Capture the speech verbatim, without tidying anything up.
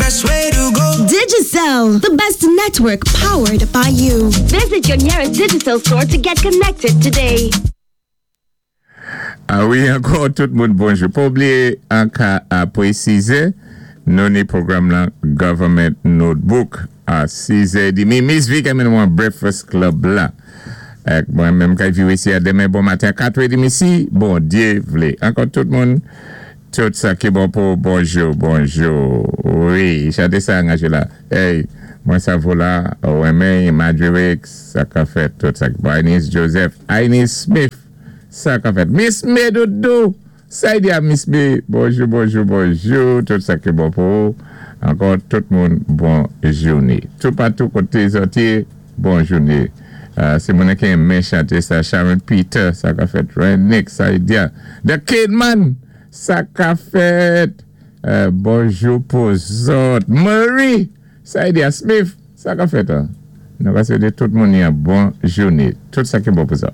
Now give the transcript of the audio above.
best way to go. Digicel, the best network powered by you. Visit your nearest Digicel store to get connected today. A wi, ankò tout moun bonjou. Pa bliwé an ka a pwésizé, nou ni pwogram la Government Notebook a sis é dmi. Miss V ki mennen wan Breakfast Club la. Ek mwen menm kay viwé isi a denmen bon maten kat é dmi si Bondyé vlé. Ankò tout moun, tout sa ki bon pou bonjou, bonjou. Wi, chanté sa Angela. Hey, mwen sa vo la, Ouenmen, Madriwex, sa ka fèt, tout sa ki bon. Ines Joseph, Ines Smith, sa ka fèt. Miss Medoudou, sa y di a Miss B, bonjou, bonjou, bonjou, tout sa ki bon pou. Ankò tout moun, bon jouné. Tout patou koté zòt yé, bon jouné. Uh, sé moun ki enmen chanté sa, Sharon Peter, sa ka fèt. Renick, sa y di a. The Kidman, sa ka fèt. Uh, bonjou pou zòt. Marie, sa y di a. Smith, sa ka fèt. Hein? Nou ka swété tout moun yon bon jouné. Tout sa ki bon pou zòt.